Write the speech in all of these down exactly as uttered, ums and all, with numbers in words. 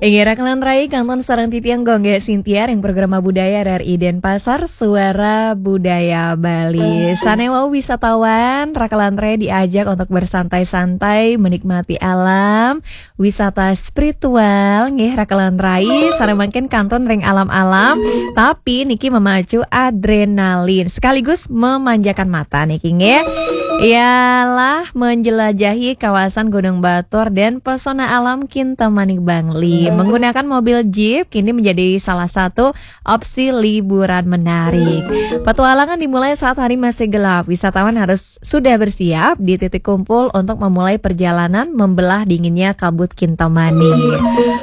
Inggih, rakelan rai, kantun sareng titiang Gung Gé Sintiar ring Programa Budaya R R I Denpasar, Suara Budaya Bali. Sané wau wisatawan, rakelan rai diajak untuk bersantai-santai, menikmati alam, wisata spiritual, nggih rakelan rai, sané mangkin kantun ring alam-alam, tapi niki memacu adrenalin, sekaligus memanjakan mata niki nggih. Ialah menjelajahi kawasan Gunung Batur dan pesona alam Kintamani Bangli. Menggunakan mobil jeep kini menjadi salah satu opsi liburan menarik. Petualangan dimulai saat hari masih gelap. Wisatawan harus sudah bersiap di titik kumpul untuk memulai perjalanan membelah dinginnya kabut Kintamani.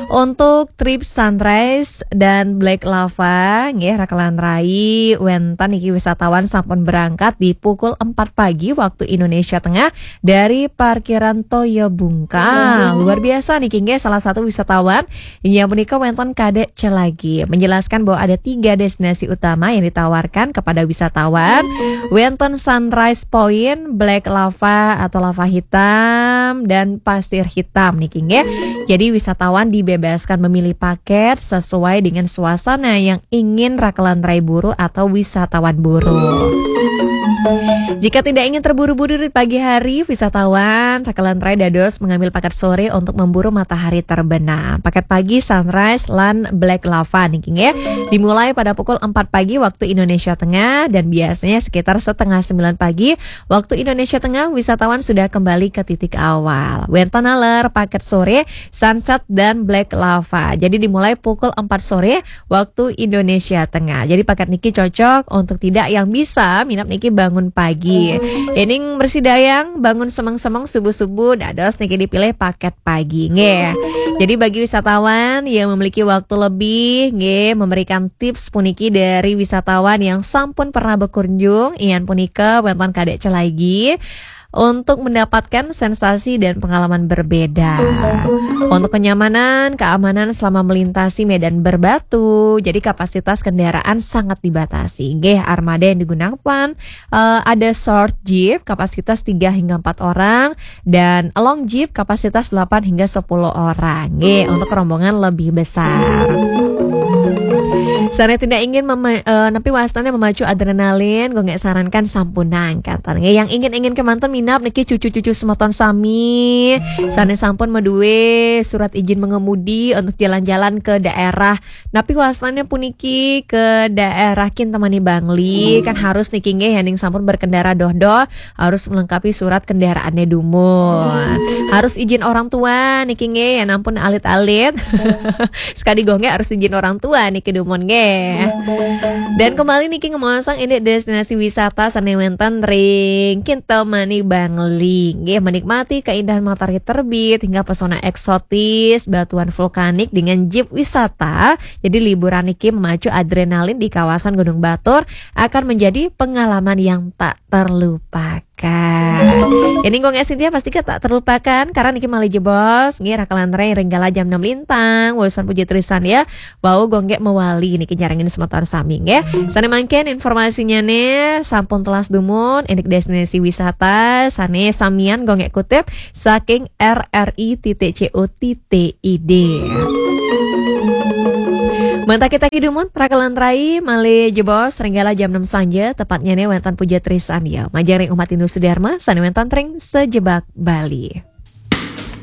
Untuk trip sunrise dan black lava, nggih rakelan rai, wénten niki wisatawan sampun berangkat di pukul empat pagi waktu Indonesia Tengah dari parkiran Toya Bungka. Luar biasa niki nggih, salah satu wisatawan yang menika wénten Kadek Celagi menjelaskan bahwa ada tiga destinasi utama yang ditawarkan kepada wisatawan. Wénten Sunrise Point, Black Lava atau Lava Hitam, dan Pasir Hitam niki nggih. Jadi wisatawan dibebaskan memilih paket sesuai dengan suasana yang ingin rakelan rai buru atau wisatawan buru. Jika tidak ingin terburu-buru di pagi hari, wisatawan rakelan rai dados mengambil paket sore untuk memburu matahari terbenam. Paket pagi, sunrise lan black lava niki nggih. Dimulai pada pukul empat pagi waktu Indonesia Tengah dan biasanya sekitar setengah sembilan pagi waktu Indonesia Tengah wisatawan sudah kembali ke titik awal. Wénten taler paket sore, sunset dan black lava. Jadi dimulai pukul empat sore waktu Indonesia Tengah. Jadi paket niki cocok untuk tidak yang bisa minap niki bangun pagi. Ening mersidayang bangun semeng-semeng subuh-subuh, dados niki dipilih paket pagi nggih. Jadi bagi wisatawan yang memiliki waktu lebih nggih, memberikan tips puniki dari wisatawan yang sampun pernah berkunjung, ian punika wénten Kadek Celagi, untuk mendapatkan sensasi dan pengalaman berbeda. Untuk kenyamanan, keamanan selama melintasi medan berbatu, jadi kapasitas kendaraan sangat dibatasi. Nggih, armada yang digunakan, eh, ada short jeep kapasitas tiga hingga empat orang dan long jeep kapasitas delapan hingga sepuluh orang. Nggih, untuk rombongan lebih besar. Sané tidak ingin mema-, eh, napi wastané memacu adrenalin, Gung Gé sarankan sampunang kantun. Nggih, yang ingin-ingin kemanten minap niki cucu-cucu semeton sami. Sané sampun madué surat izin mengemudi untuk jalan-jalan ke daerah napi wastané puniki, ke daerah Kintamani Bangli, kan harus niki nggih, yéning sampun berkendara doh-doh, harus melengkapi surat kendaraannya dumun. Harus izin orang tua niki nggih, yén ampun alit-alit. Sekadi Gung Gé harus izin orang tua niki dumun nggih. Dan kembali niki ngemaosang indik destinasi wisata sané wénten ring Kintamani Bangli. Nggih, menikmati keindahan matahari terbit hingga pesona eksotis, batuan vulkanik dengan jeep wisata. Jadi liburan niki memacu adrenalin di kawasan Gunung Batur akan menjadi pengalaman yang tak terlupakan. Ini Gung Gé Sintiar pasti tak terlupakan karena niki malih jebos, nggih, rakelan rai ring galah jam enam lintang. Wésan puji trisan ya. Wau Gung Gé mawali niki nyarengin semeton sami nggih. Sané mangkin informasinya nih sampun telas dumun, indik destinasi wisata sané samian Gung Gé kutip saking R R I titik C O titik I D. Mentaki-taki dumun, rakelan rai, malih jebos ring galah jam enam sanja, tepatnya nih wénten puja trisan ya. Majeng ring umat Hindu Sudarma, sané wénten ring sajebag Bali.